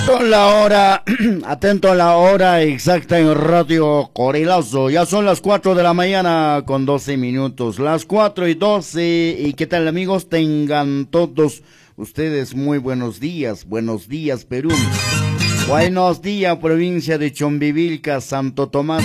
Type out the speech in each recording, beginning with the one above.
La hora, atento a la hora exacta en Radio Qorilazo. Ya son las 4 de la mañana con 12 minutos. Las 4:12. ¿Y qué tal, amigos? Tengan todos ustedes muy buenos días. Buenos días, Perú. Buenos días, provincia de Chumbivilca, Santo Tomás.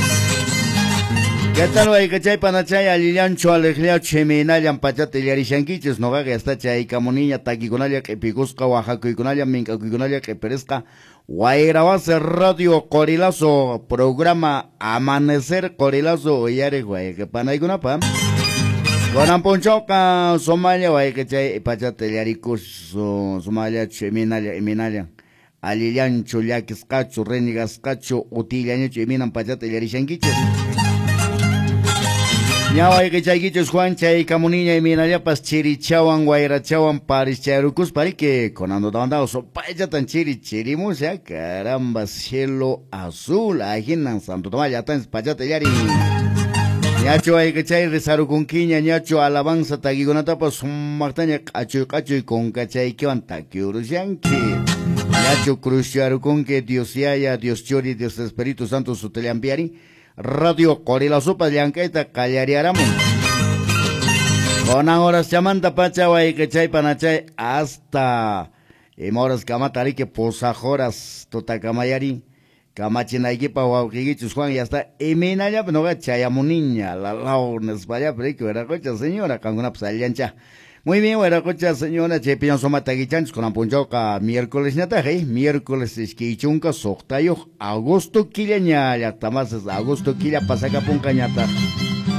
¿Qué tal, wayqichay, panachay, allillanchu, aleqllachu, imaynallan pachata illarishankichis? Noqaqa yasta chaykamuniña takikunalla q'ipikusqa, waqakuykunalla, mink'akuykunalla q'ipirisqa. Wayrawasi Radio Qorilazo, programa Amanecer Qorilazo, uyariq wayqi panaykunapa. Kunan p'unchawqa sumalla wayqichay pachata illarikus, sumallachu, imaynalla, imaynallan. Allillanchu, llakisqachu, renegasqachu, utillañachu, imaynan pachata illarishankichis? Ña wayqichaykichus Juan chaykamuniña imaynallapas chirichawan wayrachawan parischarukuspa riki kunando tawantao supaychatan chiri chirimusha, caramba, cielo azul, ahinan Santo Tomás llatanchis pachata illarin. Ñachu wayqichay rizarukunkiña, ñachu alabanza takikunatapas sumaqtaña q'achuy q'achuy kunkachaykiwan takiurushanki. Ñachu cruzcharukunki Dios Yaya, Dios Churi, Dios Espíritu Santo sutillampiari. Radio Qorilazopas llank'ayta qallariaramun. Kunan horas chamanta pacha wayqichay panachay hasta ima horas kamata riki pusaq horas tutakamayari kamachinaykipaq wawqiykichus Juan ya está imaynallapi noqa chayamuniña lalaw nispallapi riki wiraqocha señora qankunapas allillancha. Muy bien, wiraqocha señora, chaypiñan suma takichanchis kunan p'unchawqa miércoles ñataq, miércoles 26 agosto killaña llaqtamasis agosto killa pasakapunqa ñataq.